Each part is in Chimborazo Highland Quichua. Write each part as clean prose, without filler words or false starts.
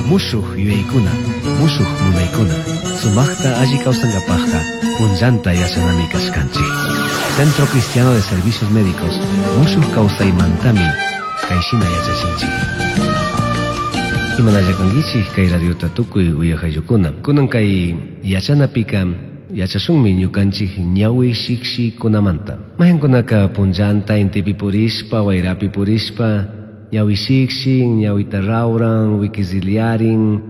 Mushuj yuyaykuna, mushuj munaykuna, sumaqta alli kawsankapaqqa punllanta yachanami kashkanchik. Centro Cristiano de Servicios Médicos mushuj kawsaymantami kayshina yachachinchik. Imanalla kankichik kay radiota tukuy uyaqayllukuna. Kunan kay yachanapika yachashunmi ñukanchik ñawi shikshikunamanta. Mayqankunaka punllanta intipi purishpa, wayrapi purishpa, ñawi shikshin, ñawita rawran, wikiziliarin,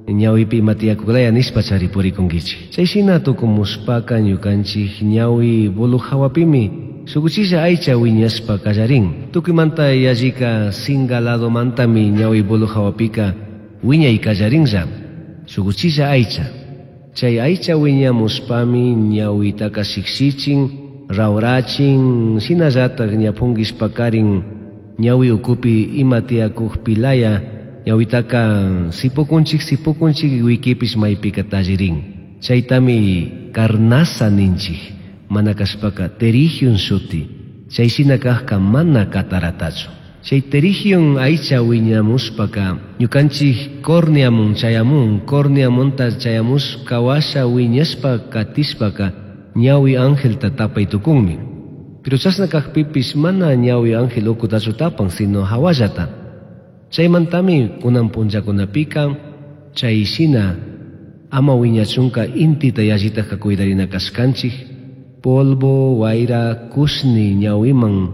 ñawipi ima tiyakuklaya nishpa chari purikunkichik. Chay shina tukumushpaka ñukanchik ñawi bulu hawapimi shukuchilla aycha wiñashpa kallarin. Tukuymanta yallika singa ladomantami ñawi bulu hawapika wiñay kallarinlla. Shukuchilla aycha. Chay aycha wiñamushpami ñawitaka shiksichin, rawrachin, shinallatak ñapunkishpakarin ñawi ukupi ima tiyakukpilaya ñawitaka sipukunchik sipukunchik wikipish maypika tallirin. Chaytami carnaza ninchik, mana kashpaka pterigion shuti. Chay shina kajka mana cataratachu. Chay pterigion aycha wiñamushpaka ñukanchik córneamun chayamun, córneamunta chayamushka washa wiñashpa katishpaka ñawi angelta tapay tukunmi. Pero chashna kajpipish mana ñawi ángel ukutachu tapan, sino hawallata. Chaymantami kunan punllakunapika chay shina ama wiñachunka intita yallitaj cuidarina kashkanchik, polvo, wayra, kushni ñawiman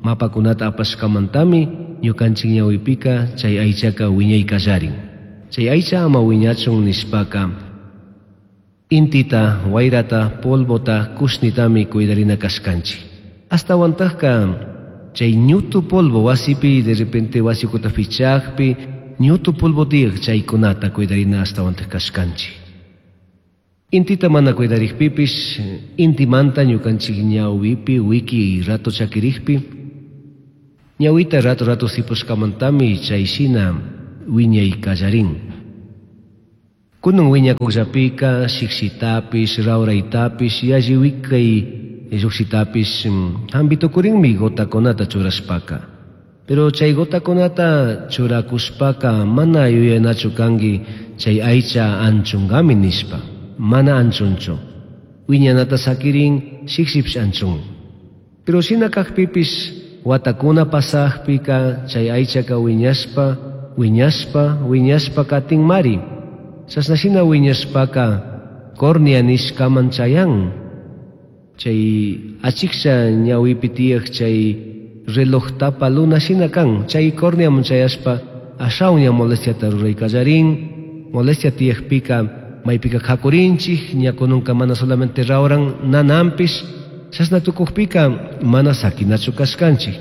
mapakunata apashkamantami ñukanchik ñawipika chay aychaka wiñay kallarin. Chay aycha ama wiñachun nishpaka intita, wayrata, polvota, kushnitami cuidarina kashkanchik. Astawantajka chay ñutu polvo wasipi de repente wasi ukuta fichakpi ñutu polvo tiyak chaykunata cuidarina astawantaj kashkanchik. Intita mana cuidarikpipish intimanta ñukanchik ñawipi wiki rato chakirikpi ñawita rato rato sipushkamantami chay shina wiñay kallarin. Kunan wiñakukllapika shikshitapish, rawraytapish, yalli wikay llukshitapish hampi tukurinmi gotakunata churashpaka. Pero chay gotakunata churakushpaka mana yuyanachu kanki chay aycha anchunkami nishpa. Mana anchunchu. Wiñanata sakirin shikshipish anchun. Pero shina kajpipish watakuna pasajpika chay aychaka wiñashpa, wiñashpa, wiñashpa katinmari. Chashna shina wiñashpaka córnea nishkaman chayan. Chay achiksha ñawipi tiyak chay reloj tapa luna shina kan. Chay córneaman chayashpa ashawan ña molestiata ruray kallarin. Molestia tiyakpika maypika kakurinchik, ña kununka mana solamente rawran nananpish. Chashna tukukpika mana sakinachu kashkanchik.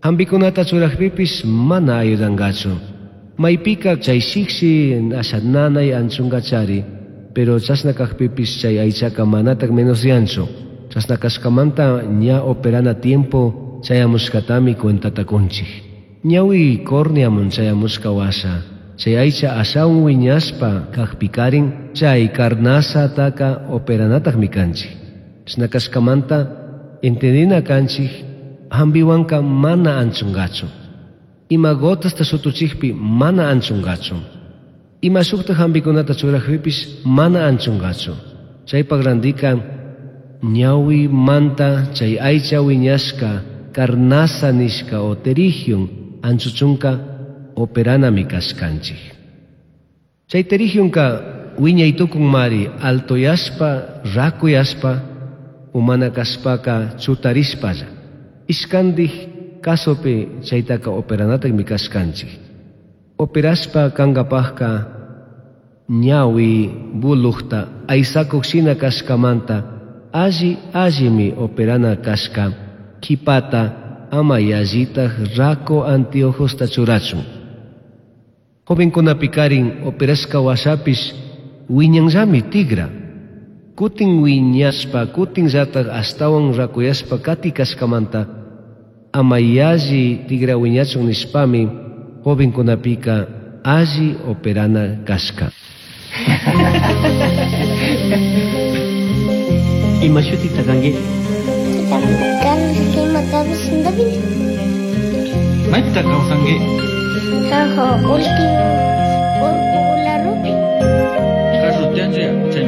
Hampikunata churakpipish mana ayudangachu. Maypika chay shikshi asha nanay anchunkachari, pero chashna kajpipish chay aychaka manatak menosyanchu. Chashna kashkamanta ña operana tiempo chayamushkatami cuentata kunchik. Ñawi córneamun chayamushka washa, chay aycha ashawan wiñashpa kajpikarin chay carnazataka operanatakmi kanchik. Chashna kashkamanta entendina kanchik hampiwanka mana anchungachu. Ima gotasta shutuchikpi mana anchungachu. Ima shukta hampikunata churakpipish mana anchungachu. Chaypak randika ñawi manta chay aycha wiñashka carnaza nishka o pterigion anchuchunka operanami kashkanchik. Chay pterigionka wiñay tukunmari altoyashpa, rakuyashpa, umana kashpaka chutarishpalla. Ishkandik casopi chaytaka operanatakmi kashkanchik. Operashpa kankapajka ñawi bulujta aysakuk shina kashkamanta alli allimi operana kashka kipata ama yallitaj rako anteojosta churachun. Jovenkunapikarin operashka washapish wiñanllami tigra. Kutin wiñashpa, kutin llataj ashtawan rakuyashpa kati kashkamanta ama yalli tigra wiñachun nishpami jovenkunapika alli operana kashka. Ima shutita kanki? Carlos Lima David. Maypita kawsanki? Sanjo último.